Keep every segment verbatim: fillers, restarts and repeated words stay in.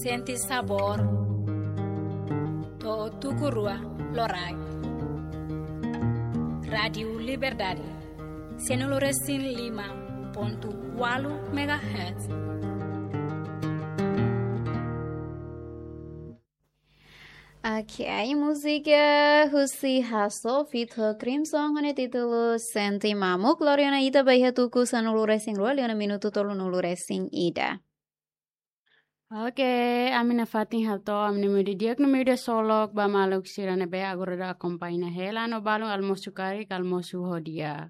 Sente sabór to'o tuku rua loraik. Rádiu Liberdade, sanulu-resin-lima pontu ualu megahertz. Ok, múzika husi Hasso feat Crimson ho nia títulu Sente Mamuk, lori ona ita ba iha tuku sanulu-resin-rua liu ona minutu tolunulu-resin-ida. Ok, ami nafatin hato'o ami-nia média di'ak no média solok ba maluk sira ne'ebé agora daudaun akompaña hela no balun almosu karik, almosu ho di'ak.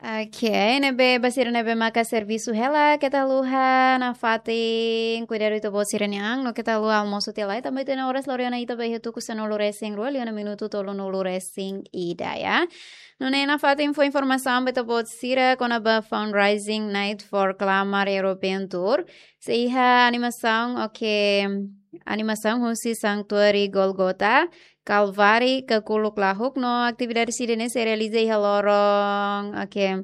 Ok, ne'ebé ba sira ne'ebé maka servisu hela, keta haluha nafatin kuidadu ita-boot sira-nia an, no keta haluha almosu tiha lai, tanba ita-nia oras lori ona ita ba iha tuku sanulu-resin-rua liu ona minutu tolunulu-resin-ida, ya. Nune'e nafatin fó informasaun ba ita-boot sira kona-ba Fundraising Night for Kalmar European Tour. Sei iha animasaun, ok, animasaun husi Santuáriu Gólgota, Kalváriu, Kakuluk Lahuk no atividade sira-ne'e sei realiza iha loron, ok,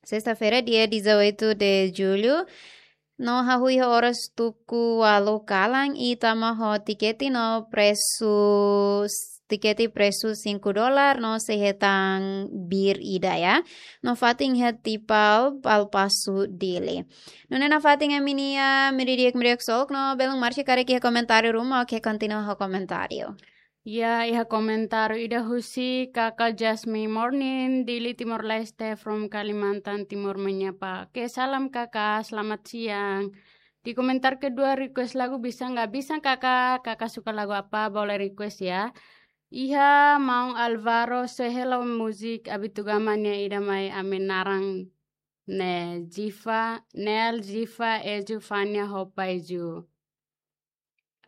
sesta-feira, dia dezoito de julho. No hahú iha oras tuku ualu kalan i tama ho tikete no presu, tikete presu cinco dólar no sei hetan bir ida, ya. No fatin iha Tipal, Palpasu, Dili. Nune'e nafatin ami-nia média di'ak, média solok no belun Marcia karik iha komentáriu ruma, ok, kontinua ho komentáriu. Ya, iha komentáriu ida husi Kaka Jasmine Morning, Dili, Timor-Leste, from Kalimantan Timur menyapa. Oke, salam Kaka, selamat siang. Di komentar kedua, request lagu bisa nggak? Bisa, Kaka. Kaka suka lagu apa, boleh request ya. Iha maun Alvaro, Sehelo Music, Abitugama nia ida mai ami naran ne'e Jifa, Nel, Jifa, Eju, Fania, Hopa, Eju.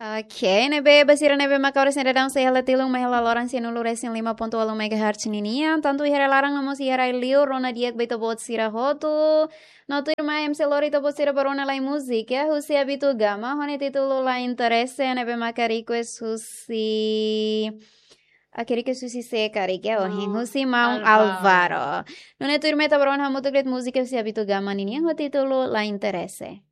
Ok, ne'ebé ba sira ne'ebé maka oras ne'e daudaun sei hela tilun mai hela loron sanulu-resin-lima pontu ualu megahertz ninian, tantu iha rai-laran no mós iha rai-liur, rona di'ak ba ita-boot sira hotu. No tuirmai ema sei lori ita-boot sira ba rona lai múzika, ya, husi Abitugama, ho nia títulu La Interese, ne'ebé maka request husi, ah, request husi sé karik, ya, ohin, maun, husi maun Alvaro. Alvaro. Nune'e tuirmai ita ba rona hamutuk de'it múzika husi Abitugama ninian ho títulu La Interese.